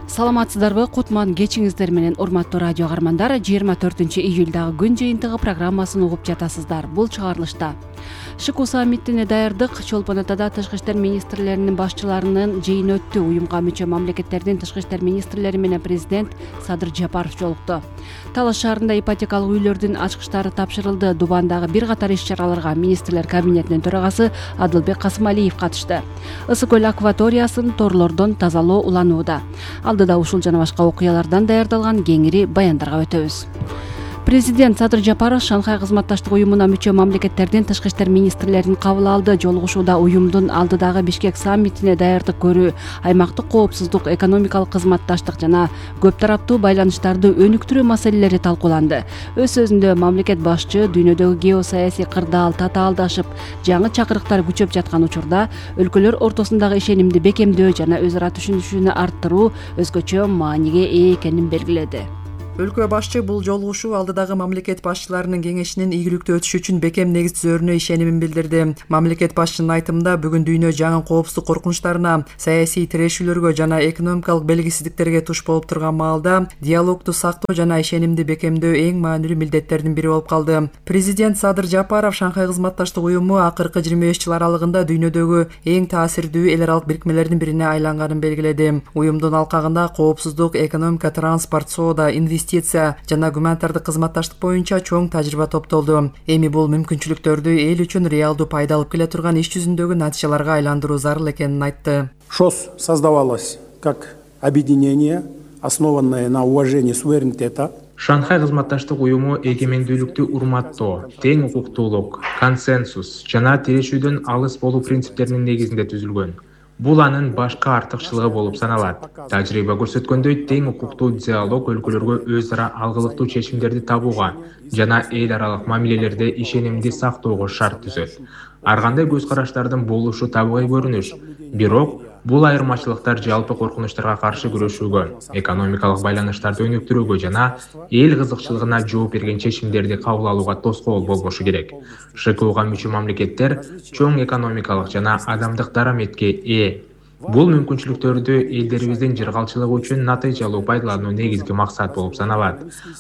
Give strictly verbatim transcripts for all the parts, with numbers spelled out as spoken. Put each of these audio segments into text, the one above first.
Саламатсыздарбы? Кутман кечиңиздер менен урматтуу радио каармандар. жыйырма төртүнчү июлдагы күн жыйынтыгы программасын угуп жатасыздар. Бул чыгарылышта ШИКУ саммитине даярдык Чолпон Атада тышкы иштер министрлеринин башчыларынын жыйыны өттү. Уюмга мүчө мамлекеттердин тышкы иштер министрлери менен президент Садыр Жапаров жолукту. Талаш шаарында ипотекалык үйлөрдүн ачкычтары тапшырылды. Дубандагы бир катар иш-чараларга министрлер кабинетинин төрагасы Адылбек Касымалиев катышты. Ысык көл акваториясын торлордон тазалоо уланууда. Алдыда ушул жана башка окуялардан даярдалган кеңири баяндарга өтөбүз. Президент Садыр Жапаров Шанхай кызматташтык уюмуна мүчө мамлекеттердин тышкы иштер министрлерин кабыл алды. Жолугушууда уюмдун алдыдагы Бишкек саммитине даярдык көрүү, аймактык коопсуздук, экономикалык кызматташтык жана көп тараптуу байланыштарды өнүктүрүү маселелери талкууланды. Өз сөзүндө мамлекет башчы дүйнөдөгү геосаясий кырдаал татаалдашып, жаңы чакырыктар күчөп жаткан учурда өлкөлөр ортосундагы ишенимди бекемдөө жана өз ара түшүнүшүнү арттыруу өзгөчө мааниге ээ экенин белгиледи. Өлкө башчы бул жолугушуу алдыдагы мамлекет башчыларынын кеңешинин ийгиликтүү өтүшү үчүн бекем негиз түзөрүнө ишенимин билдирди. Мамлекет башчынын айтымында бүгүн дүйнө жаңы коопсуздук коркунучтарына, саясий тирешүүлөргө жана экономикалык белгисиздиктерге туш болуп турган маалда диалогду сактоо жана ишенимди бекемдөө эң маанилүү милдеттердин бири болуп калды. Президент Садыр Жапаров Шанхай кызматташтык уюму акыркы жыйырма беш жыл аралыгында дүйнөдөгү эң таасирдүү эл аралык бирикмелердин бирине айланганын белгиледи. Уюмдун алкагында коопсуздук, экономика, транспорт, соода, инвестиция жана гуманитардык кызматташтык боюнча чоң тажрыйба топтолду. Эми бул мүмкүнчүлүктөрдү эл үчүн реалдуу пайда алып келе турган иш жүзүндөгү натыйжаларга айландыруу зарыл экенин айтты. ШОС создавалось как объединение, основанное на уважении суверенитета. Шанхай кызматташтык уюму эгемендүүлүктү урматтоо, тең укуктуулук, консенсус жана тирешүүдөн алыс болуу принциптеринин негизинде түзүлгөн. Бул анын башкы артыкчылыгы болуп саналат. Тажрыйба көрсөткөндөй, тең укуктуу диалог өлкөлөргө өз ара алгылыктуу чечимдерди табууга жана эл аралык мамилелерде ишенимди сактоого шарт түзөт. Ар кандай көз караштардын болушу табигый көрүнүш, бирок бул айырмачылыктар жалпы коркунучтарга каршы күрөшүүгө, экономикалык байланыштарды өнүктүрүүгө жана эл кызыкчылыгына жооп берген чечимдерди кабыл алууга тоскоол болбошу керек. ШИКУга мүчө мамлекеттер чоң экономикалык жана адамдык дараметке ээ. Бул мүмкүнчүлүктөрдү элдерибиздин жыргалчылыгы үчүн натыйжалуу пайдалануу негизги максат болуп саналат.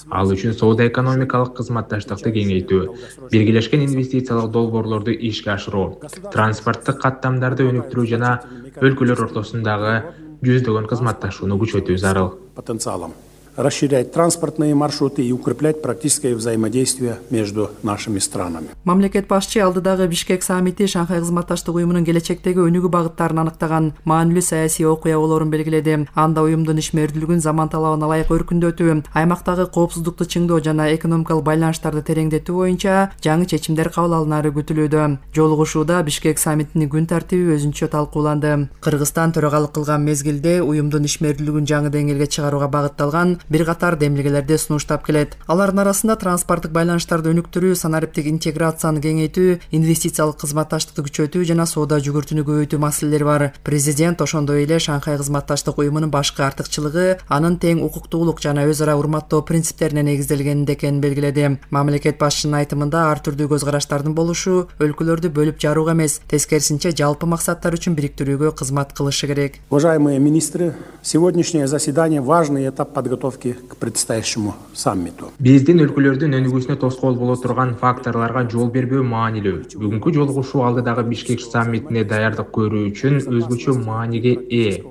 Ал үчүн соода-экономикалык кызматташтыкты кеңейтүү, биргелешкен инвестициялык долбоорлорду ишке ашыруу, транспорттук каттамдарды өнүктүрүү жана өлкөлөр ортосундагы жүздөгөн кызматташууну күчөтүү зарыл. Потенциалом расширять транспортные маршруты и укреплять практическое взаимодействие между нашими странами. Мамлекет башчы алдыдагы Бишкек саммити Шанхай кызматташтык уюмунун келечектеги өнүгүү багыттарын аныктаган маанилүү саясий окуя болоорун белгиледи. Анда уюмдун ишмердүүлүгүн заман талабына ылайык өркүндөтүү, аймактагы коопсуздукту чыңдоо жана экономикалык байланыштарды тереңдетүү боюнча жаңы чечимдер кабыл алынары күтүлүүдө. Жолугушууда Бишкек саммитинин күн тартиби өзүнчө талкууланды. Кыргызстан төрагалык кылган мезгилде уюмдун ишмердүүлүгүн жаңы деңгээлге чыгарууга багытталган бир катар демилгелерди сунуштап келет. Алардын арасында транспорттук байланыштарды өнүктүрүү, санариптик интеграцияны кеңейтүү, инвестициялык кызматташтыкты күчөтүү жана соода жүгүртүүнү көбөйтүү маселелери бар. Президент ошондой эле Шанхай кызматташтык уюмунун башкы артыкчылыгы анын тең укуктуулук жана өз ара урматтоо принциптерине негизделгенинде экенин белгиледи. Мамлекет башчынын айтымында ар түрдүү көз караштардын болушу өлкөлөрдү бөлүп жарууга эмес, тескерисинче жалпы максаттар үчүн бириктирүүгө кызмат кылышы керек. Уважаемые министры, сегодняшнее заседание важный этап подготовки к предстоящему саммиту. Биздин өлкөлөрдүн өнүгүүсүнө тоскоол боло турган факторлорго жол бербөө маанилүү. Бүгүнкү жолугушуу алдыдагы Бишкек саммитине даярдык көрүү үчүн өзгөчө мааниге ээ.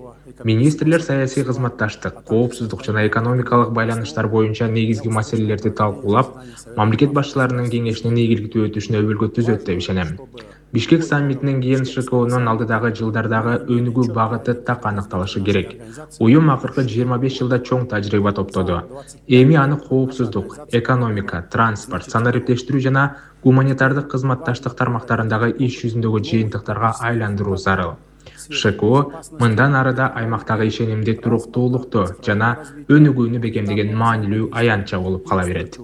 Министрлер саясий кызматташтык, коопсуздук жана экономикалык байланыштар боюнча негизги маселелерди талкуулап, мамлекет башчыларынын кеңешинин ийгиликтүү өтүшүнө өбөлгө түзөт деп ишенем. Бишкек саммитинен кийин ШИКУнун алдыдагы жылдардагы өнүгүү багыты так аныкталышы керек. Уюм акыркы жыйырма беш жылда чоң тажрыйба топтоду. Эми аны коопсуздук, экономика, транспорт, санариптештирүү жана гуманитардык кызматташтык тармактарындагы иш жүзүндөгү жыйынтыктарга айландыруу зарыл. ШИКУ мындан арыда аймактагы ишенимди, туруктуулукту жана өнүгүүнү бекемдеген маанилүү аянтча болуп кала берет.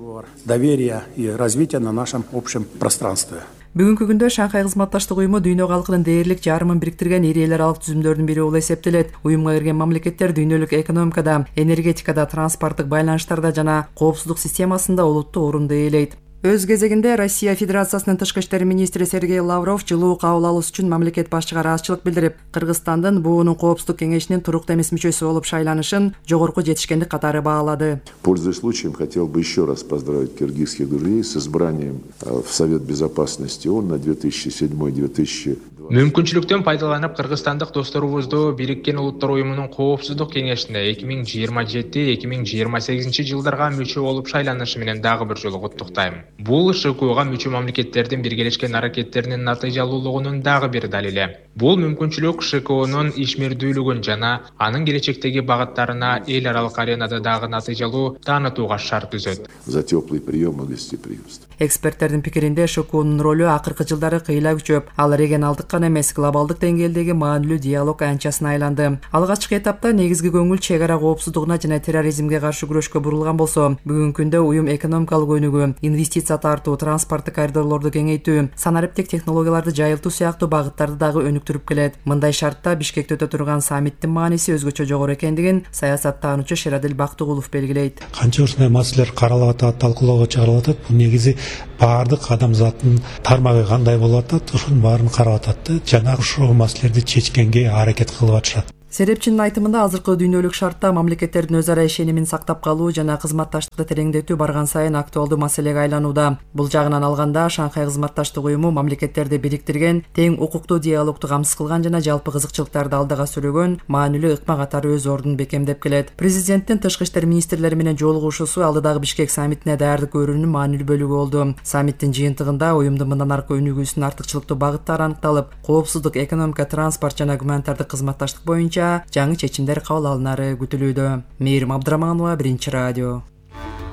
Доверие и развитие на нашем общем пространстве. Бүгүнкү күндө Шанхай кызматташтык уюму дүйнө калкынын дээрлик жарымын бириктирген ири эл аралык түзүмдөрдүн бири болуп эсептелет. Уюмга кирген мамлекеттер дүйнөлүк экономикада, энергетикада, транспорттук байланыштарда жана коопсуздук системасында олуттуу орунду ээлейт. Өз кезегинде Россия Федерациясынын тышкы иштер министри Сергей Лавров жылуу кабыл алуусу үчүн мамлекет башчыга ыраазычылык билдирип, Кыргызстандын буунун коопсуздук кеңешинин туруктуу эмес мүчөсү болуп шайланышын жогорку жетишкендик катары баалады. Пользуясь случаем, хотел бы еще раз поздравить киргизских друзей с избранием в Совет Безопасности ООН на две тысячи седьмой — две тысячи Мүмкүнчүлүктөн пайдаланып кыргызстандык досторубузду Бириккен Улуттар Уюмунун коопсуздук кеңешине эки миң жыйырма жети — эки миң жыйырма сегизинчи жылдарга мүчө болуп шайланышы менен дагы бир жолу куттуктайм. Бул ШКОга мүчө мамлекеттердин биргелешкен аракеттеринин натыйжалуулугунун дагы бир далили. Бул мүмкүнчүлүк ШКОнун ишмердүүлүгүн жана анын келечектеги багыттарына эл аралык аренада дагы натыйжалуу таанытууга шарт түзөт. За теплый прием и гостеприимство. Эксперттердин пикиринде ШКОнун ролу акыркы жылдары кыйла күчөп, ал регионалдык гана эмес, глобалдык деңгээлдеги маанилүү диалог аянтчасына айланды. Алгачкы этапта негизги көңүл чек ара коопсуздугуна жана терроризмге каршы күрөшкө бурулган болсо, бүгүнкү күндө уюм экономикалык өнүгүү, инвестиция тартуу, транспорттук коридорлорду кеңейтүү, санариптик технологияларды жайылтуу сыяктуу багыттарды дагы өнүктүрүп келет. Мындай шартта Бишкекте өтө турган саммиттин мааниси өзгөчө жогору экендигин саясаттануучу Шерадил Бактыгулов белгилейт. Канча ушундай маселелер каралып атат, талкуулоого чыгарылып атат. Бул негизи баардык адамзаттын тармагы кандай болуп атат, ушунун баарын карап атат жана ушул маселелерди чечкенге аракет кылып атышат. Серепчинин айтымында азыркы дүйнөлүк шартта мамлекеттердин өз ара ишенимин сактап калуу жана кызматташтыкты тереңдетүү барган сайын актуалдуу маселеге айланууда. Бул жагынан алганда Шанхай кызматташтык уюму мамлекеттерди бириктирген, тең укуктуу диалогду камсыз кылган жана жалпы кызыкчылыктарды алдыга сүрөгөн маанилүү ыкма катары өз ордун бекемдеп келет. Президенттин тышкы иштер министрлери менен жолугушуусу алдыдагы Бишкек саммитине даярдык көрүүнүн маанилүү бөлүгү болду. Саммиттин жыйынтыгында уюмдун мындан аркы өнүгүүсүнүн артыкчылыктуу багыттары аныкталып, коопсуздук, экономика, транспорт жана гуманитардык кызматташтык боюнча жаңы чечимдер кабыл алынары күтүлүүдө. Мээрим Абдыраманова, Биринчи радио.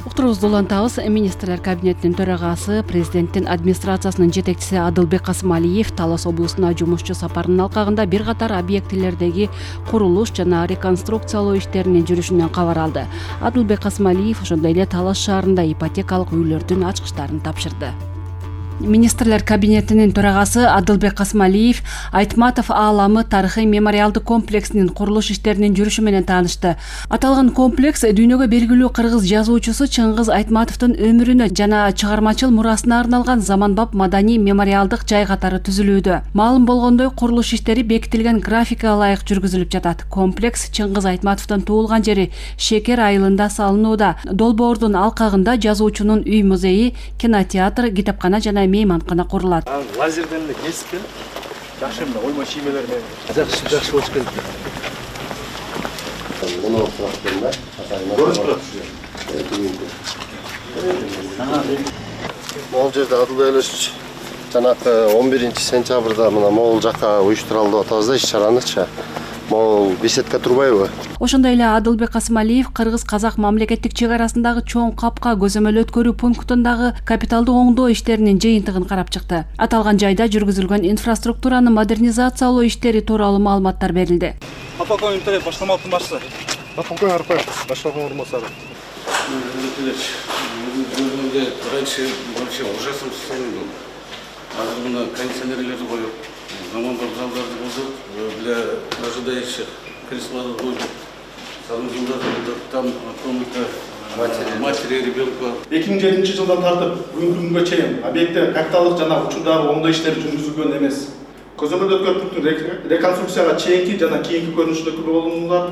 Уктурубузду улантабыз. Министрлер кабинетинин төрагасы, президенттин администрациясынын жетекчиси Адылбек Касымалиев Талас облусуна жумушчу сапарынын алкагында бир катар объектилердеги курулуш жана реконструкциялоо иштеринин жүрүшүнөн кабар алды. Адылбек Касымалиев ошондой эле Талас шаарында ипотекалык үйлөрдүн ачкычтарын тапшырды. Министрлер кабинетинин төрагасы Адылбек Касымалиев Айтматов ааламы тарыхый мемориалдык комплексинин курулуш иштеринин жүрүшү менен таанышты. Аталган комплекс дүйнөгө белгилүү кыргыз жазуучусу Чыңгыз Айтматовдун өмүрүнө жана чыгармачыл мурасына арналган заманбап маданий мемориалдык жай катары түзүлүүдө. Маалым болгондой, курулуш иштери бекитилген графикага ылайык жүргүзүлүп жатат. Комплекс Чыңгыз Айтматовдун туулган жери Шекер айылында салынууда. Долбоордун алкагында жазуучунун үй музейи, кинотеатр, китепкана жана мейманкана курулат. Лазерден эле кесип, жакшы эле оймо чиймелер менен жакшы жакшы болуп келди. Муну фактында Көрүнүп турат. Могул жерде Адылбек Элечович жанакы он биринчи сентябрда мына могул жакка уюштуралды деп атабыз да иш-чаранычы. Могул беседка турбайбы? Ошондой эле Адылбек Касымалиев кыргыз-казак мамлекеттик чек арасындагы чоң капка көзөмөл өткөрүү пунктундагы капиталдык оңдоо иштеринин жыйынтыгын карап чыкты. Аталган жайда жүргүзүлгөн инфраструктураны модернизациялоо иштери тууралуу маалыматтар берилди. Апакон интернет баштамалыктын башчысы. Апакон Арпаев, башталган орунбасары. Өзүмдө раньше вообще ужасно был. Азыр мына кондиционерлерди коюп, заманбап залдарды кылдык, для ожидающих креслолорду коюп. Там комната матери ребенка. эки миң жетинчи жылдан тартып бүгүнкү күнгө чейин объектте капиталдык жана учурдагы оңдоо иштери жүргүзүлгөн эмес. Көзөмөлдө өткөрүп пункттун реконструкцияга чейинки жана кийинки көрүнүштөгү болумдар.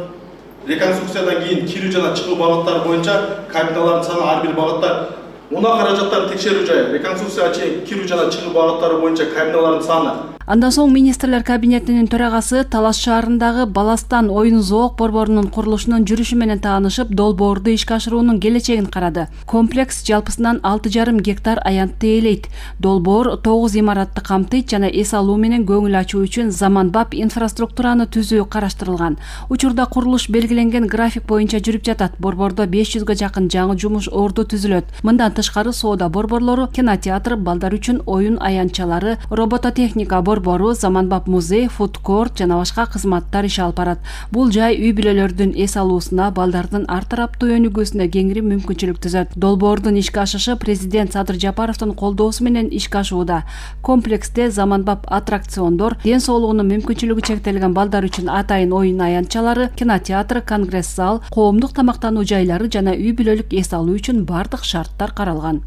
Реконструкциядан кийин кирүү жана чыгуу багыттары боюнча кабиналардын саны ар бир багытта муна каражаттарды текшерүү жайы. Реконструкцияга чейин кирүү жана чыгуу багыттары боюнча кабиналардын саны. Андан соң министрлер кабинетинин төрагасы Талас шаарындагы Баластан оюн зоок борборунун курулушунун жүрүшү менен таанышып, долбоорду ишке ашыруунун келечегин карады. Комплекс жалпысынан алты жарым гектар аянтты ээлейт. Долбоор тогуз имаратты камтыйт жана эс алуу менен көңүл ачуу үчүн заманбап инфраструктураны түзүү караштырылган. Учурда курулуш белгиленген график боюнча жүрүп жатат. Борбордо беш жүзгө жакын жаңы жумуш орду түзүлөт. Мындан тышкары соода борборлору, кинотеатр, балдар үчүн оюн аянтчалары, робототехника борбору, заманбап музей, фудкорт жана башка кызматтар иш алып барат. Бул жай үй бүлөлөрдүн эс алуусуна, балдардын ар тараптуу өнүгүүсүнө кеңири мүмкүнчүлүк түзөт. Долбоордун ишке ашышы президент Садыр Жапаровдун колдоосу менен ишке ашууда. Комплексте заманбап аттракциондор, ден соолугунун мүмкүнчүлүгү чектелген балдар үчүн атайын оюн аянтчалары, кинотеатр, конгресс зал, коомдук тамактануу жайлары жана үй бүлөлүк эс алуу үчүн бардык шарттар каралган.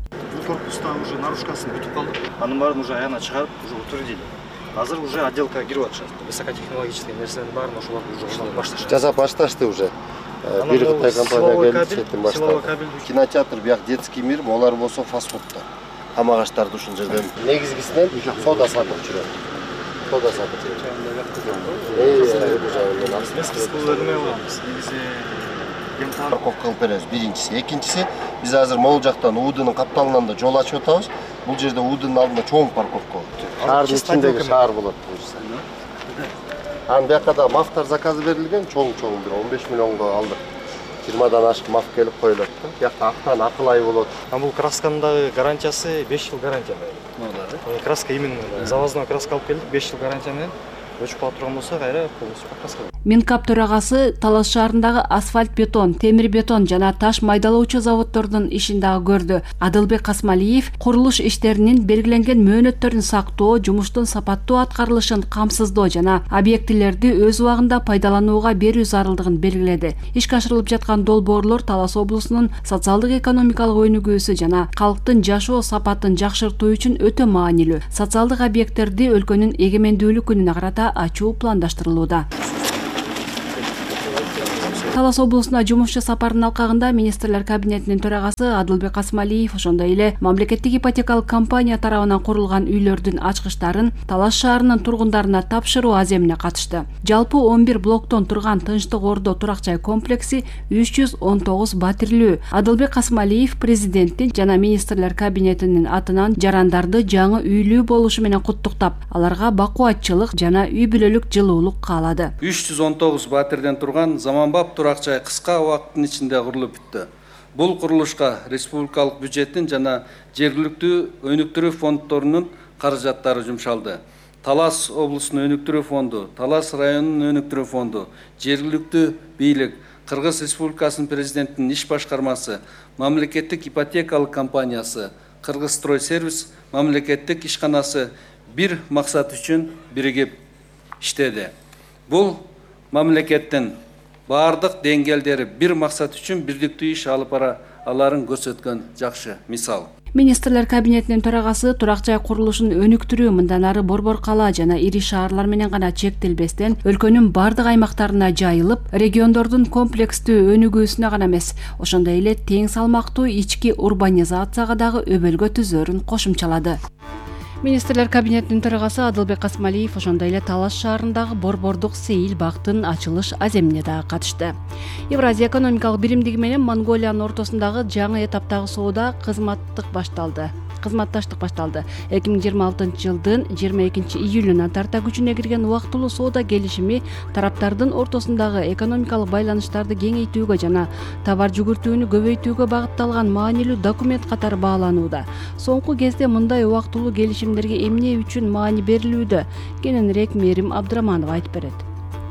корпуста уже наружкасын бүтүп калдык. Анын баарын уже аягына чыгарып, уже утвердили. Азыр уже отделка кирип атышат. Высокотехнологический нерселердин баарын ошолор уже жасап башташты. Жасап башташты уже. Бир Кытай компания келди, сеттин баштады. Кинотеатр, бияк детский мир, олар болсо фастфудтар. Камагачтарды ушул жерден негизгисинен сода сатып жүрөт. Сода сатып жүрөт. Парковка кылып беребиз биринчиси. Экинчиси, биз азыр могул жактан УУДнын капталынан да жол ачып атабыз. Бул жерде УУДнын алдында чоң парковка болот. Шаардын ичиндеги шаар болот буюрса. Анын бияка да мафтар заказы берилген, чоң-чоң бир он беш миллионго алдык. жыйырмадан ашык маф келип коюлат да. Бияка актан акыл ай болот. А бул красканын дагы гарантиясы беш жыл гарантия берилет. Краска именно завозной краска алып келдик, беш жыл гарантия менен. Өчүп кала турган болсо кайра полностью покраска. Минкап төрагасы Талас шаарындагы асфальт бетон, темир бетон жана таш майдалоочу заводдордун ишин дагы көрдү. Адылбек Касмалиев курулуш иштеринин белгиленген мөөнөттөрүн сактоо, жумуштун сапаттуу аткарылышын камсыздоо жана объектилерди өз убагында пайдаланууга берүү зарылдыгын белгиледи. Ишке ашырылып жаткан долбоорлор Талас облусунун социалдык экономикалык өнүгүүсү жана калктын жашоо сапатын жакшыртуу үчүн өтө маанилүү. Социалдык объекттерди өлкөнүн эгемендүүлүк күнүнө карата ачуу пландаштырылууда. Талас облусуна жумушчу сапарынын алкагында министрлер кабинетинин төрагасы Адылбек Касмалиев ошондой эле мамлекеттик ипотекалык компания тарабынан курулган үйлөрдүн ачкычтарын Талас шаарынын тургундарына тапшыруу аземине катышты. Жалпы он бир блоктон турган Тынчтык Ордо турак жай комплекси үч жүз он тогуз батирлүү. Адылбек Касмалиев президенттин жана министрлер кабинетинин атынан жарандарды жаңы үйлүү болушу менен куттуктап, аларга бакубатчылык жана үй бүлөлүк жылуулук каалады. үч жүз он тогуз батирден турган заманбап турак жай кыска убакыттын ичинде курулуп бүттү. Бул курулушка республикалык бюджеттин жана жергиликтүү өнүктүрүү фонддорунун каражаттары жумшалды. Талас облусунун өнүктүрүү фонду, Талас районунун өнүктүрүү фонду, жергиликтүү бийлик, Кыргыз Республикасынын президентинин иш башкармасы, мамлекеттик ипотекалык компаниясы, Кыргызстройсервис мамлекеттик ишканасы бир максат үчүн биригип иштеди. Бул мамлекеттин бардык деңгээлдери бир максат үчүн бирдиктүү иш алып бара аларын көрсөткөн жакшы мисал. Министрлер кабинетинин төрагасы турак жай курулушун өнүктүрүү мындан ары Борбор кала жана ири шаарлар менен гана чектелбестен өлкөнүн бардык аймактарына жайылып, региондордун комплекстүү өнүгүүсүнө гана эмес, ошондой эле тең салмактуу ички урбанизацияга дагы өбөлгө түзөрүн кошумчалады. Министрлер кабинетинин төрагасы Адылбек Касмалиев ошондой эле Талас шаарындагы Борбордук сейил бактын ачылыш аземине дагы катышты. Евразия экономикалык биримдиги менен Монголиянын ортосундагы жаңы этаптагы соода кызматтык башталды. Кызматташтык башталды. эки миң жыйырма алтынчы жылдын жыйырма экинчи июлүнөн тарта күчүнө кирген убактылуу соода келишими тараптардын ортосундагы экономикалык байланыштарды кеңейтүүгө жана товар жүгүртүүнү көбөйтүүгө багытталган маанилүү документ катары бааланууда. Соңку кезде мындай убактылуу келишимдерге эмне үчүн маани берилүүдө? Кененирээк Мээрим Абдыраманов айтып берет.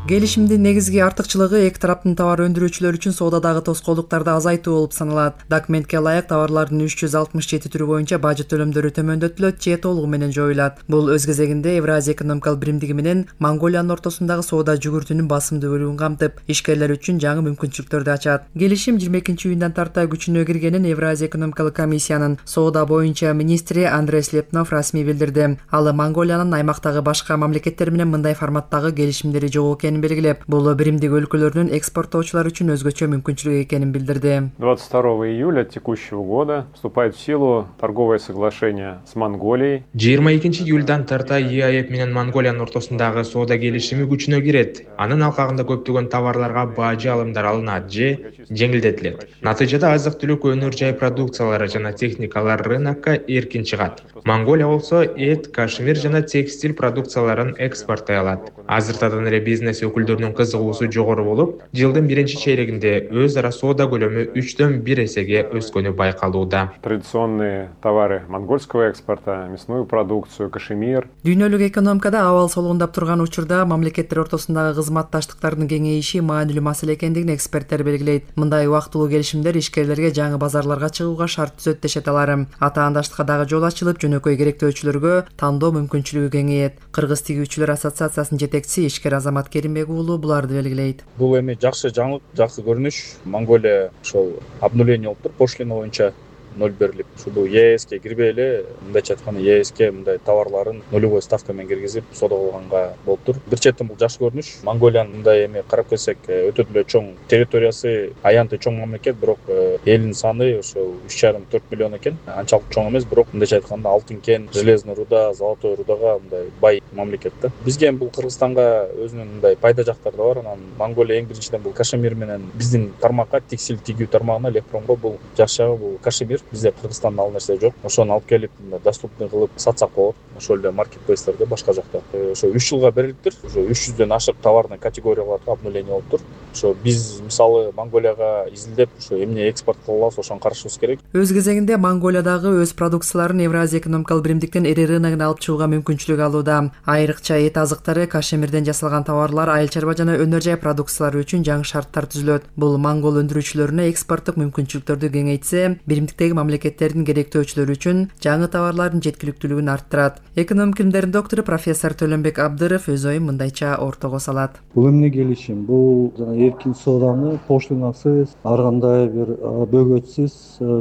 Келишимдин негизги артыкчылыгы эки тараптын товар өндүрүүчүлөр үчүн соодадагы тоскоолдуктарды азайтуу болуп саналат. Документке ылайык товарлардын үч жүз алтымыш жети түрү боюнча бажы төлөмдөрү төмөндөтүлөт же толугу менен жоюлат. Бул өз кезегинде Евразия экономикалык биримдиги менен Монголиянын ортосундагы соода жүгүртүүнүн басымдуу бөлүгүн камтып, ишкерлер үчүн жаңы мүмкүнчүлүктөрдү ачат. Келишим жыйырма экинчи июндан тарта күчүнө киргенин Евразия экономикалык комиссиянын соода боюнча министри Андрей Слепнов расмий билдирди. Ал Монголиянын аймактагы башка мамлекеттер менен мындай форматтагы келишимдери жок экенин белгилеп, бул биримдик өлкөлөрдүн экспорттоочулар үчүн өзгөчө мүмкүнчүлүк экенин билдирди. двадцать второго июля текущего года вступает в силу торговое соглашение с Монголией. жыйырма экинчи июлдан тарта ЕАЭП менен Монголиянын ортосундагы соода келишими күчүнө кирет. Анын алкагында көптөгөн товарларга бажы алымдар алынат же жеңилдетилет. Натыйжада азык-түлүк өнөр жай продукциялары жана техникалар рынокко эркин чыгат. Монголия болсо эт, кашмир жана текстиль продукцияларын экспорттой алат. Азыртадан эле бизнес өкүлдөрүнүн кызыгуусу жогору болуп, жылдын биринчи чейрегинде өз ара соода көлөмү үчтөн бир эсеге өскөнү байкалууда. Традиционные товары монгольского экспорта, мясную продукцию, кашемир. Дүйнөлүк экономикада абал солугундап турган учурда мамлекеттер ортосундагы кызматташтыктардын кеңейиши маанилүү маселе экендигин эксперттер белгилейт. Мындай убактылуу келишимдер ишкерлерге жаңы базарларга чыгууга шарт түзөт дешет алар. Атаандаштыкка дагы жол ачылып, жөнөкөй керектөөчүлөргө тандоо мүмкүнчүлүгү кеңейет. Кыргыз тигүүчүлөр ассоциациясынын жетекчиси ишкер Азамат Керимбек уулу буларды белгилейт. Бул эми жакшы жаңылык, жакшы көрүнүш. Монголия ошол обнуление болуптур, пошлина боюнча ноль берилип, ушу бул ЕСке кирбей эле, мындайча айтканда ЕСке мындай товарларын нулевой ставка менен киргизип соода кылганга болуптур. Бир четтен бул жакшы көрүнүш. Монголиянын мындай эми карап келсек, өтө эле чоң территориясы, аянты чоң мамлекет, бирок элдин саны ошо үч жарым төрт миллион экен. Анчалык чоң эмес, бирок мындайча айтканда алтын кен, железный руда, золотой рудага мындай бай мамлекет да. Бизге бул Кыргызстанга өзүнүн мындай пайда жактары да бар. Анан Монголия эң биринчиден бул кашемир менен биздин тармакка, текстиль тигүү тармагына, электронго бул жакшы жагы бул кашемир. Бизде Кыргызстанда ал нерсе жок. Ошону алып келип доступный кылып сатсак болот. Ошол эле маркетплейстерде башка жакта. Ошо үч жылга берилиптир. Ошо үч жүздөн ашык товарный категорияларга обнуление болуптур. Ошо биз мисалы Монголияга изилдеп, ошо эмне экспорт кыла алабыз, ошону карашыбыз керек. Өз кезегинде Монголиядагы өз продукцияларын Евразия экономикалык биримдиктен эре рыногуна алып чыгууга мүмкүнчүлүк алууда. Айрыкча эт азыктары, кашемирден жасалган товарлар, айыл чарба жана өнөр жай продукциялары үчүн жаңы шарттар түзүлөт. Бул монгол өндүрүүчүлөрүнө экспорттук мүмкүнчүлүктөрдү кеңейтсе, биримдиктеги мамлекеттердин керектөөчүлөрү үчүн жаңы товарлардын жеткиликтүүлүгүн арттырат. Экономика илимдеринин доктору профессор Төлөнбек Абдыров өз оюн мындайча ортого салат. Бул эмне келишим? Бул жана эркин сооданы поштунасыз, ар кандай бир бөгөтсүз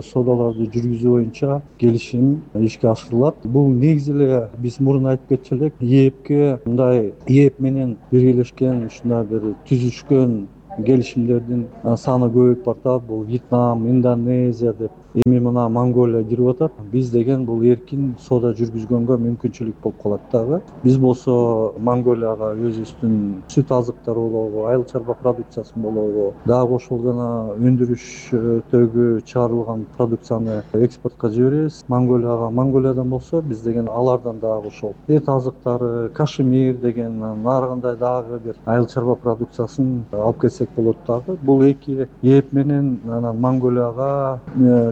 соодаларды жүргүзүү боюнча келишим ишке ашырылат. Бул негизи эле биз мурун айтып кетчү элек, ЕЭПке мындай ЕЭП менен биргелешкен ушундай бир түзүшкөн келишимдердин саны көбөйүп баратат. Бул Вьетнам, Индонезия деп эми мына Монголия кирип атат. Биз деген бул эркин соода жүргүзгөнгө мүмкүнчүлүк болуп калат дагы. Биз болсо Монголияга өзүбүздүн сүт азыктары болобу, айыл чарба продукциясын болобу, дагы ошол жана өндүрүштөгү чыгарылган продукцияны экспортко жиберебиз Монголияга. Монголиядан болсо биз деген алардан дагы ошол эт азыктары, кашемир деген ар кандай дагы бир айыл чарба продукциясын алып келсек болот дагы. Бул эки ЕЭП менен анан Монголияга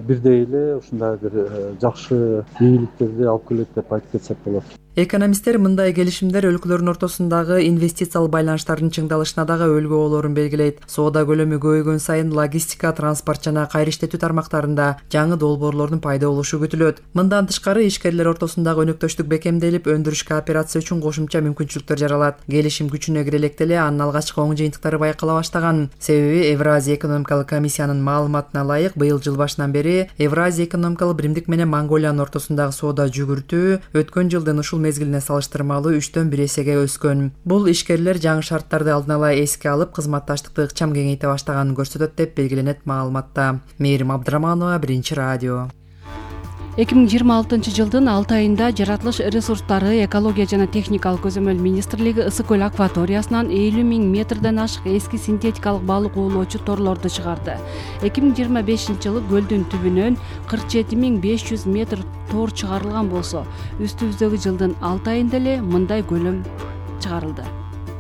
бирдей эле ушундай бир жакшы ийгиликтерди алып келет деп айтып кетсек болот. Экономисттер мындай келишимдер өлкөлөрдүн ортосундагы инвестициялык байланыштардын чыңдалышына дагы өлгү болоорун белгилейт. Соода көлөмү көбөйгөн сайын логистика, транспорт жана кайра иштетүү тармактарында жаңы долбоорлордун пайда болушу күтүлөт. Мындан тышкары ишкерлер ортосундагы өнөктөштүк бекемделип, өндүрүш кооперация үчүн кошумча мүмкүнчүлүктөр жаралат. Келишим күчүнө кире электе эле анын алгачкы оң жыйынтыктары байкала баштаган. Себеби Евразия экономикалык комиссиянын маалыматына ылайык, быйыл жыл башынан бери Евразия экономикалык биримдик менен Монголиянын ортосундагы соода жүгүртүү өткөн жылдын ушул мезгилине салыштырмалуу үчтөн бир эсеге өскөн. Бул ишкерлер жаңы шарттарды алдын ала эске алып, кызматташтыкты ыкчам кеңейте баштаганын көрсөтөт деп белгиленет маалыматта. Мээрим Абдыраманова, Биринчи радио. эки миң жыйырма алтынчы жылдын алты айында жаратылыш ресурстары, экология жана техникалык көзөмөл министрлиги Ысык көл акваториясынан элүү миң метрден ашык эски синтетикалык балык уулоочу торлорду чыгарды. эки миң жыйырма бешинчи жылы көлдүн түбүнөн кырк жети миң беш жүз метр тор чыгарылган болсо, үстүбүздөгү жылдын алты айында эле мындай көлөм чыгарылды.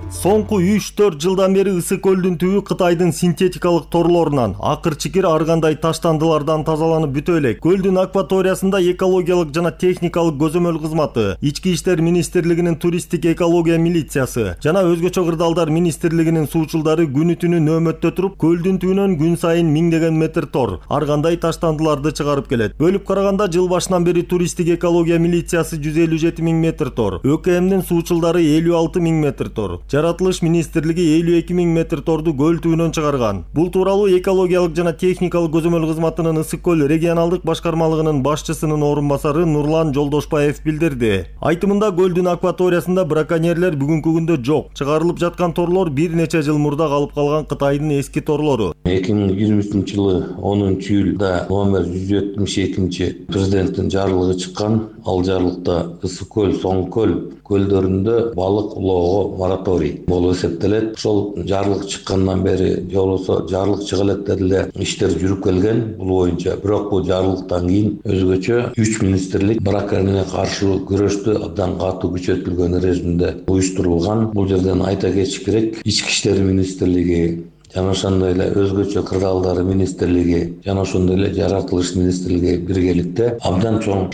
Соңку үч төрт жылдан бери Ысык көлдүн түбү Кытайдын синтетикалык торлорунан, акыр-чикир ар кандай таштандылардан тазаланып бүтө элек. Көлдүн акваториясында экологиялык жана техникалык көзөмөл кызматы, Ички иштер министрлигинин туристтик экология милициясы жана өзгөчө кырдаалдар министрлигинин суучулдары күнү түнү нөөмөттө туруп, көлдүн түбүнөн күн сайын миңдеген метр тор, ар кандай таштандыларды чыгарып келет. Бөлүп караганда жыл башынан бери туристтик экология милициясы жүз элүү жети миң метр тор, ÖКМдин суучулдары элүү алты миң метр тор, Жаратылыш министрлиги элүү эки миң метр торду көл түбүнөн чыгарган. Бул тууралуу экологиялык жана техникалык көзөмөл кызматынын Ысык көл регионалдык башкармалыгынын башчысынын орун басары Нурлан Жолдошбаев билдирди. Айтымында көлдүн акваториясында браконьерлер бүгүнкү күндө жок. Чыгарылып жаткан торлор бир нече жыл мурда калып калган Кытайдын эски торлору. эки миң жыйырма үчүнчү жылы онунчу июлда номер жүз жетимиш экинчи президенттин жарлыгы чыккан. Ал жарлыкта Ысык көл, Соң көл көлдөрүндө балык улоого мораторий болуп эсептелет. Ошол жарлык чыккандан бери же болбосо жарлык чыга электе эле иштер жүрүп келген бул боюнча. Бирок бул жарлыктан кийин өзгөчө үч министрлик браконьерлерге каршы күрөштү абдан катуу күчөтүлгөн режимде уюштурулган. Бул жерден айта кетиш керек, Ички иштер министрлиги жана ошондой эле өзгөчө кырдаалдар министрлиги жана ошондой эле жаратылыш министрлиги биргеликте абдан чоң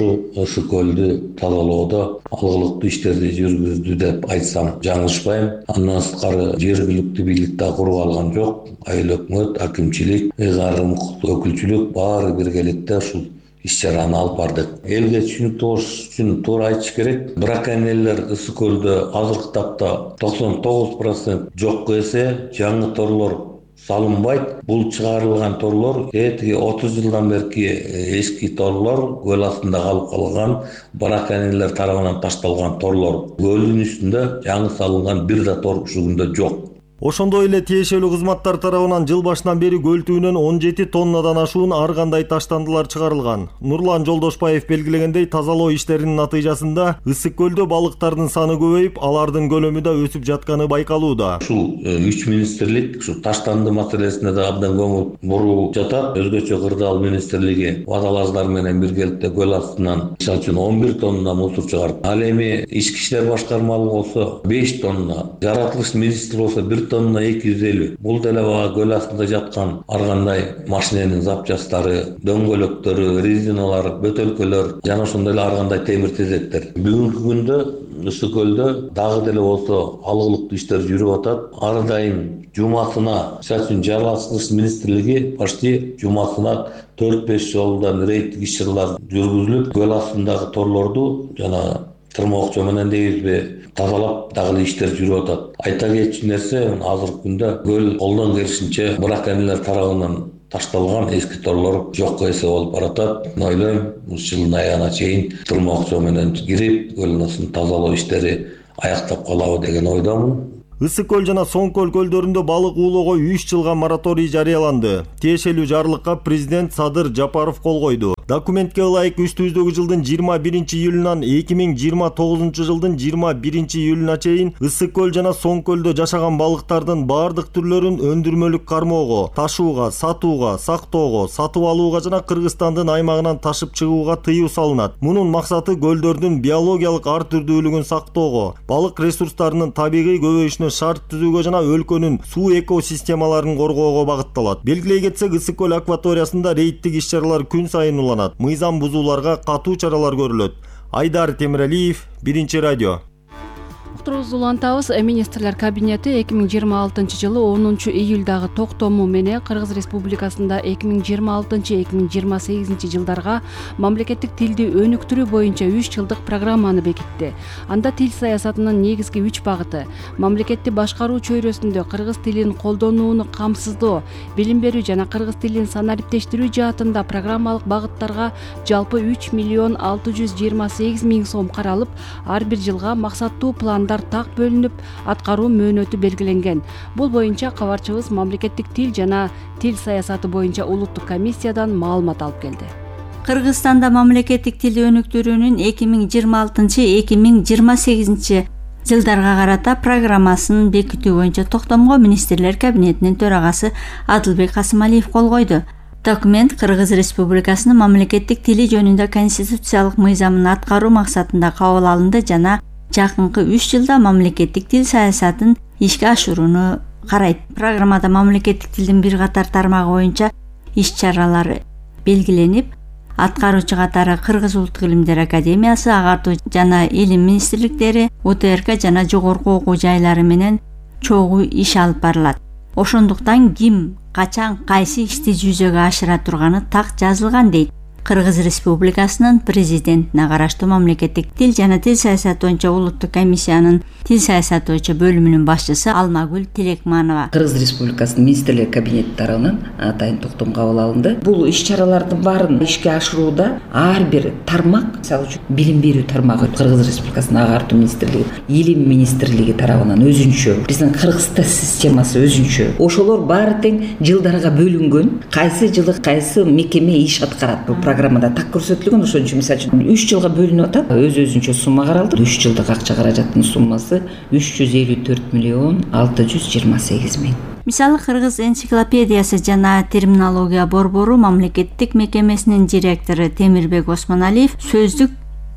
Ысык көлдү тазалоодо алгылыктуу иштерди жүргүздү деп айтсам жаңылышпайм. Андан сырткары жергиликтүү бийлик да куруп алган жок. Айыл өкмөт, акимчилик, ыйгарым өкүлчүлүк баары биргеликте ушул иш-чараны алып бардык. Элге түшүнүктүү болуш үчүн туура айтыш керек. Браконьерлер Ысык көлдө азыркы тапта токсон тогуз процент жокко эсе, жаңы торлор салынбайт. Бул чыгарылган торлор этиги отуз жылдан берки эски торлор, көл астында калып калган браконьерлер тарабынан ташталган торлор. Көлдүн үстүндө жаңы салынган бир да тор ушул күндө жок. Ошондой эле тиешелүү кызматтар тарабынан жыл башынан бери көл түбүнөн он жети тоннадан ашуун ар кандай таштандылар чыгарылган. Нурлан Жолдошбаев белгилегендей, тазалоо иштеринин натыйжасында ысык көлдө балыктардын саны көбөйүп, алардын көлөмү да өсүп жатканы байкалууда. Ушул үч министрлик ушу таштанды маселесине да абдан көңүл буруп жатат. Өзгөчө кырдаал министрлиги водолаздар менен биргеликте көл астынан мисалы үчүн он бир тонна мусор чыгарып, ал эми ички иштер башкармалыгы болсо беш тонна, жаратылыш министри болсо бир тонна эки жүз элүү. Бул деле бага көл астында жаткан ар кандай машиненин запчастары, дөңгөлөктөрү, резиналар, бөтөлкөлөр жана ошондой эле ар кандай темир тезектер. Бүгүнкү күндө ысык көлдө дагы деле болсо алгылыктуу иштер жүрүп атат. Ар дайым жумасына, мисалы үчүн жаратылыш министрлиги почти жумасына төрт беш жолдан рейдтик иш-чаралар жүргүзүлүп, көл астындагы торлорду жана тырмоокчо менен дейбизби тазалап дагы эле иштер жүрүп атат. Айта кетчү нерсе, азыркы күндө көл колдон келишинче браконьерлер тарабынан ташталган эски торлор жокко эсе болуп баратат. Мен ойлойм, ушул жылдын аягына чейин тырмоокчо менен кирип, көлдүн астын тазалоо иштери аяктап калабы деген ойдомун. Ысык көл жана Соң көл көлдөрүндө балык уулоого үч жылга мораторий жарыяланды. Тиешелүү жарлыкка президент Садыр Жапаров кол койду. Документке ылайык үстүбүздөгү жылдын жыйырма биринчи июлунан эки миң жыйырма тогузунчу жылдын жыйырма биринчи июлуна чейин ысык көл жана Соң көлдө жашаган балыктардын баардык түрлөрүн өндүрмөлүк кармоого, ташууга, сатууга, сактоого, сатып алууга жана Кыргызстандын аймагынан ташып чыгууга тыюу салынат. Мунун максаты көлдөрдүн биологиялык ар түрдүүлүгүн сактоого, балык ресурстарынын табигый көбөйүшүнө шарт түзүүгө жана өлкөнүн суу экосистемаларын коргоого багытталат. Белгилей кетсек, ысык көл акваториясында рейдтик иш-чаралар күн сайын уланат. Мыйзам бузууларга катуу чаралар көрүлөт. Айдар Темиралиев, Биринчи радио. Уктурубузду улантабыз. Министрлер кабинети эки миң жыйырма алтынчы жылы онунчу июлдагы токтому менен Кыргыз Республикасында эки миң жыйырма алтынчы эки миң жыйырма сегизинчи жылдарга мамлекеттик тилди өнүктүрүү боюнча үч жылдык программаны бекитти. Анда тил саясатынын негизги үч багыты: мамлекетти башкаруу чөйрөсүндө кыргыз тилин колдонууну камсыздоо, билим берүү жана кыргыз тилин санариптештирүү жаатында программалык багыттарга жалпы үч миллион алты жүз жыйырма сегиз миң сом каралып, ар бир жылга максаттуу план так бөлүнүп, аткаруу мөөнөтү белгиленген. Бул боюнча кабарчыбыз мамлекеттик тил жана тил саясаты боюнча улуттук комиссиядан маалымат алып келди. Кыргызстанда мамлекеттик тилди өнүктүрүүнүн эки миң жыйырма алтынчы эки миң жыйырма сегизинчи жылдарга карата программасын бекитүү боюнча токтомго министрлер кабинетинин төрагасы Адылбек Касымалиев кол койду. Документ Кыргыз Республикасынын мамлекеттик тили жөнүндө конституциялык мыйзамын аткаруу максатында кабыл алынды жана жакынкы үч жылда мамлекеттик тил саясатын ишке ашырууну карайт. Программада мамлекеттик тилдин бир катар тармагы боюнча иш-чаралар белгиленип, аткаруучу катары Кыргыз Улуттук илимдер академиясы, агартуу жана илим министрликтери, У Т Р К жана жогорку окуу жайлары менен чогуу иш алып барылат. Ошондуктан ким, качан, кайсы ишти жүзөгө ашыра турганы так жазылган дейт Кыргыз Республикасынын президентине караштуу мамлекеттик тил жана тил саясаты боюнча улуттук комиссиянын тил саясаты боюнча бөлүмүнүн башчысы Алмагүл Тилекманова. Кыргыз Республикасынын министрлер кабинети тарабынан атайын токтом кабыл алынды. Бул иш-чаралардын баарын ишке ашырууда ар бир тармак, мисалы үчүн билим берүү тармагы Кыргыз Республикасынын агартуу министрлиги, илим министрлиги тарабынан өзүнчө, биздин кыргыз тил системасы өзүнчө. Ошолор баары тең жылдарга бөлүнгөн. Кайсы жылы кайсы мекеме иш аткарат. Бул программада так көрсөтүлгөн. Ошон үчүн мисалы үчүн үч жылга бөлүнүп атат. Өз өзүнчө сумма каралды. үч жылдык акча каражаттын суммасы үч жүз элүү төрт миллион алты жүз жыйырма сегиз миң. Мисалы Кыргыз энциклопедиясы жана терминология борбору мамлекеттик мекемесинин директору Темирбек Осмоналиев сөздүк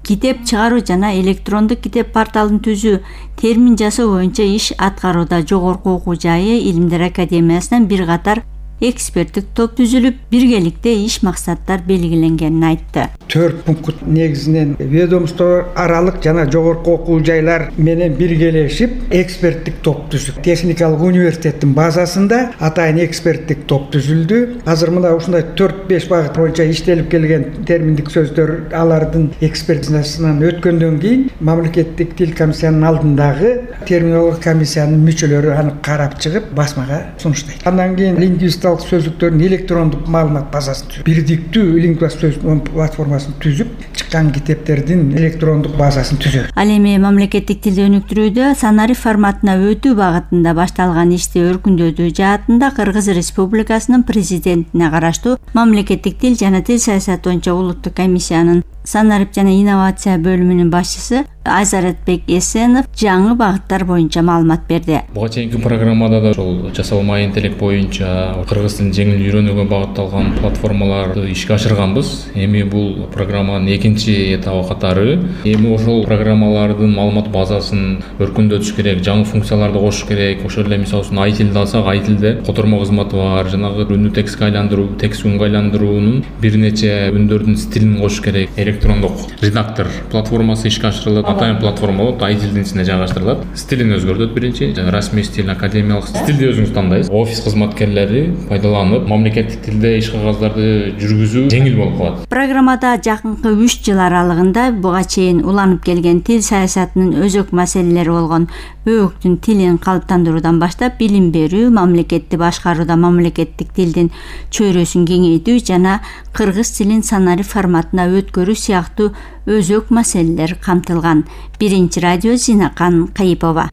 китеп чыгаруу жана электрондук китеп порталын түзүү, термин жасоо боюнча иш аткарууда. Жогорку окуу жайы Илимдер академиясынан бир катар эксперттик топ түзүлүп, биргеликте иш максаттар белгиленгенин айтты. Төрт пункт негизинен ведомство аралык жана жогорку окуу жайлар менен биргелешип эксперттик топ түзүп, техникалык университеттин базасында атайын эксперттик топ түзүлдү. Азыр мына ушундай төрт беш багыт боюнча иштелип келген терминдик сөздөр алардын экспертизасынан өткөндөн кийин мамлекеттик тил комиссиянын алдындагы терминология комиссиянын мүчөлөрү аны карап чыгып басмага сунуштайт. Андан кийин лингвистикалык сөздүктөрдүн электрондук маалымат базасын түзүп, бирдиктүү лингвист сөз платформасын түзүп, чыккан китептердин электрондук базасын түзөбүз. Ал эми мамлекеттик тилди өнүктүрүүдө санарип форматына өтүү багытында башталган ишти өркүндөтүү жаатында Кыргыз Республикасынын президентине караштуу мамлекеттик тил жана тил саясаты боюнча улуттук комиссиянын санарип жана инновация бөлүмүнүн башчысы Айзаратбек Эсенов жаңы багыттар боюнча маалымат берди. Буга чейинки программада да ошол жасалма интеллект боюнча кыргыз тилин жеңил үйрөнүүгө багытталган платформаларды ишке ашырганбыз. Эми бул программанын экинчи этабы катары. Эми ошол программалардын маалымат базасын өркүндөтүш керек, жаңы функцияларды кошуш керек. Ошол эле мисалы үчүн айтилди алсак, айтилде котормо кызматы бар, жанагы үнү текстке айландыруу, текст үнгө айландыруунун бир нече үндөрдүн стилин кошуш керек. Электрондук редактор платформасы ишке ашырылат. Атайын платформа болот, айтилдин ичине жайгаштырылат. Стилин өзгөртөт биринчи, расмий стиль, академиялык стилди өзүңүз тандайсыз. Офис кызматкерлери пайдаланып, мамлекеттик тилде иш кагаздарды жүргүзүү жеңил болуп калат. Программада жакынкы үч жыл аралыгында буга чейин уланып келген тил саясатынын өзөк маселелери болгон өөктүн тилин калыптандыруудан баштап билим берүү, мамлекетти башкарууда мамлекеттик тилдин чөйрөсүн кеңейтүү жана кыргыз тилин санарип форматына өткөрүү сыяктуу өзөк маселелер камтылган. Биринчи радио Зинакан Кайыпова.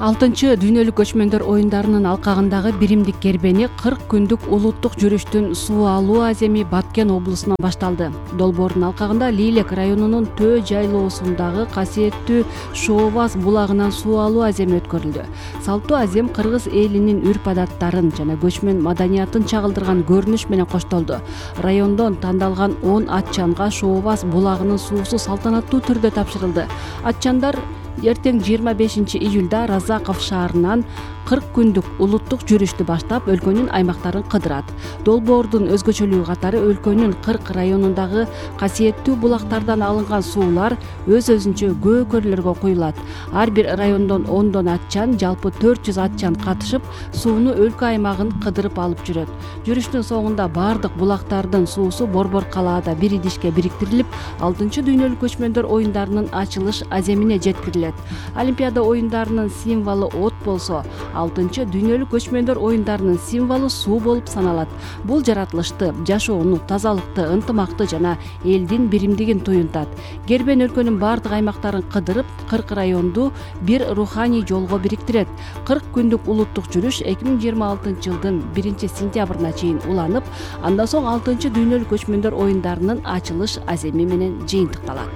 алтынчы дүйнөлүк көчмөндөр оюндарынын алкагындагы биримдик кербени кырк күндүк улуттук жүрүштүн суу алуу аземи Баткен облусунан башталды. Долбоордун алкагында Лилек районунун Төө жайлоосундагы касиеттүү Шооваз булагынан суу алуу аземи өткөрүлдү. Салттуу азем кыргыз элинин үрп-адаттарын жана көчмөн маданиятын чагылдырган көрүнүш менен коштолду. Райондон тандалган он атчанга Шооваз булагынын суусу салтанаттуу түрдө тапшырылды. Атчандар эртең жыйырма бешинчи июлда Разаков шаарынан кырк күндүк улуттук жүрүштү баштап өлкөнүн аймактарын кыдырат. Долбоордун өзгөчөлүгү катары өлкөнүн кырк районундагы касиеттүү булактардан алынган суулар өз-өзүнчө көкөрлөргө куюлат. Ар бир райондон ондон атчан, жалпы төрт жүз атчан катышып, сууну өлкө аймагын кыдырып алып жүрөт. Жүрүштүн соңунда бардык булактардын суусу Борбор калаада бир идишке бириктирилип, алтынчы дүйнөлүк көчмөндөр оюндарынын ачылыш аземине жеткирилет. Олимпиада оюндарынын символу от болсо, алтынчы дүйнөлүк көчмөндөр оюндарынын символу суу болуп саналат. Бул жаратылышты, жашоону, тазалыкты, ынтымакты жана элдин биримдигин туюнтат. Кербен өлкөнүн бардык аймактарын кыдырып, кырк районду бир руханий жолго бириктирет. кырк күндүк улуттук жүрүш эки миң жыйырма алтынчы жылдын биринчи сентябрына чейин уланып, андан соң алтынчы дүйнөлүк көчмөндөр оюндарынын ачылыш аземи менен жыйынтыкталат.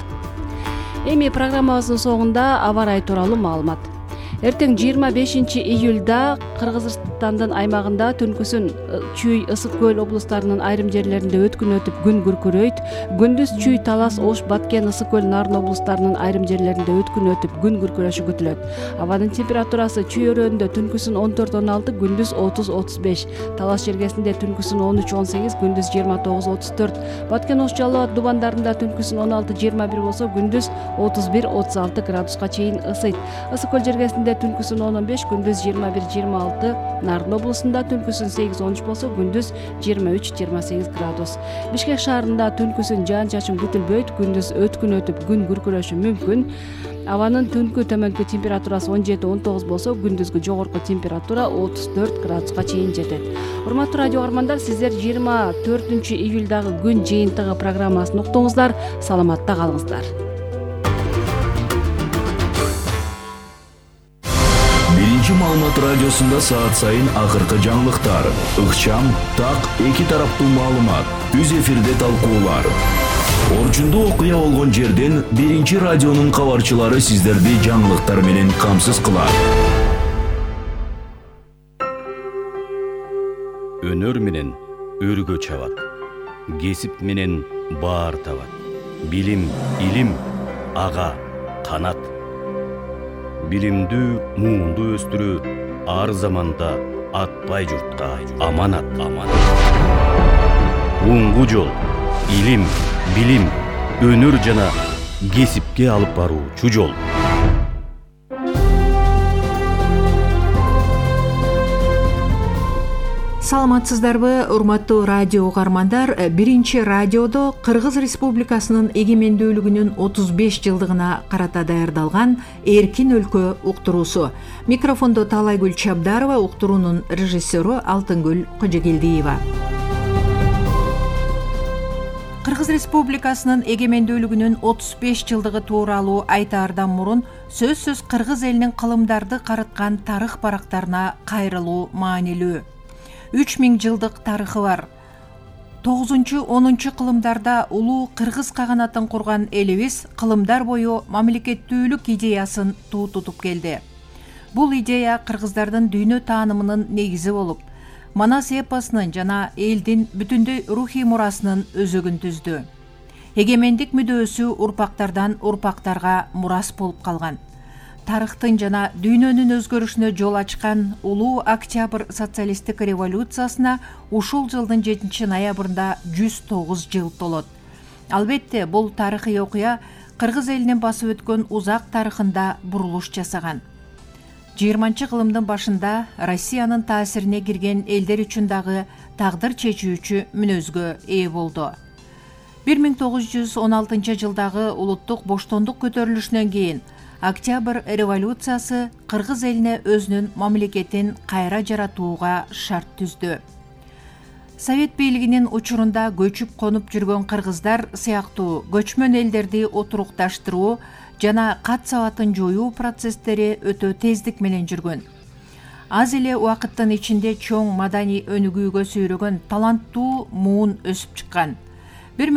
Эми программабыздын соңунда аба ырайы тууралуу маалымат. Эртең жыйырма бешинчи июлда Кыргызстандын аймагында түнкүсүн Чүй, Ысык көл облустарынын айрым жерлеринде өткүн өтүп күн күркүрөйт. Күндүз Чүй, Талас, Ош, Баткен, Ысык көл, Нарын облустарынын айрым жерлеринде өткүн өтүп күн күркүрөшү күтүлөт. Абанын температурасы Чүй өрөөнүндө түнкүсүн он төрт он алты, күндүз отуз отуз беш. Талас жергесинде түнкүсүн он үч он сегиз, күндүз жыйырма тогуз отуз төрт. Баткен, Ош, Жалал абад дубандарында түнкүсүн он алты жыйырма бир болсо, күндүз отуз бир отуз алты градуска чейин ысыйт. Ысык көл жергесинде түнкүсүн он он беш, күндүз жыйырма бир жыйырма алты. Нарын облусунда түнкүсүн сегиз он үч болсо, күндүз жыйырма үч жыйырма сегиз градус. Бишкек шаарында түнкүсүн жаан-чачын күтүлбөйт, күндүз өткүн өтүп күн күркүрөшү мүмкүн. Абанын түнкү төмөнкү температурасы он жети он тогуз болсо, күндүзгү жогорку температура отуз төрт градуска чейин жетет. Урматтуу радио каармандар, сиздер жыйырма төртүнчү июлдагы күн жыйынтыгы программасын уктуңуздар. Саламатта калыңыздар. Биринчи маалымат радиосунда саат сайын акыркы жаңылыктар, ыкчам, так, эки тараптуу маалымат, үз эфирде талкуулар. Орчундуу окуя болгон жерден биринчи радионун кабарчылары сиздерди жаңылыктар менен камсыз кылат. Өнөр менен өргө чабат, кесип менен баар табат. Билим, илим, ага, канат. Билимдүү, муунду өстүрүү ар заманда, атпай журтка аманат аманат. Уңгу жол илим, билим, өнөр жана кесипке алып баруучу жол. Саламатсыздарбы, урматтуу радио угармандар. Биринчи радиодо Кыргыз Республикасынын эгемендүүлүгүнүн отуз беш жылдыгына карата даярдалган Эркин өлкө уктуруусу. Микрофондо Таалайгүл Чабдарова, уктуруунун режиссеру Алтынгүл Кожогелдиева. Кыргыз Республикасынын эгемендүүлүгүнүн отуз беш жылдыгы тууралуу айтаардан мурун сөзсүз кыргыз элинин кылымдарды карыткан тарых барактарына кайрылуу маанилүү. үч миң жылдык тарыхы бар. тогузунчу онунчу кылымдарда улуу кыргыз каганатын курган элибиз кылымдар бою мамлекеттүүлүк идеясын туу тутуп келди. Бул идея кыргыздардын дүйнө таанымынын негизи болуп, Манас эпосунун жана элдин бүтүндөй рухий мурасынын өзөгүн түздү. Эгемендик мүдөөсү урпактардан урпактарга мурас болуп калган. Тарыхтын жана дүйнөнүн өзгөрүшүнө жол ачкан улуу Октябрь социалисттик революциясына ушул жылдын жетинчи ноябрында жүз тогуз жыл толот. Албетте, бул тарыхый окуя кыргыз элинин басып өткөн узак тарыхында бурулуш жасаган. жыйырманчы кылымдын башында Россиянын таасирине кирген элдер үчүн дагы тагдыр чечүүчү мүнөзгө ээ болду. бир миң тогуз жүз он алтынчы жылдагы улуттук боштондук көтөрүлүшүнөн кийин Октябрь революциясы кыргыз элине өзүнүн мамлекетин кайра жаратууга шарт түздү. Совет бийлигинин учурунда көчүп конуп жүргөн кыргыздар сыяктуу көчмөн элдерди отурукташтыруу жана кат сабатын жоюу процесстери өтө тездик менен жүргөн. Аз эле убакыттын ичинде чоң маданий өнүгүүгө сүйрөгөн таланттуу муун өсүп чыккан.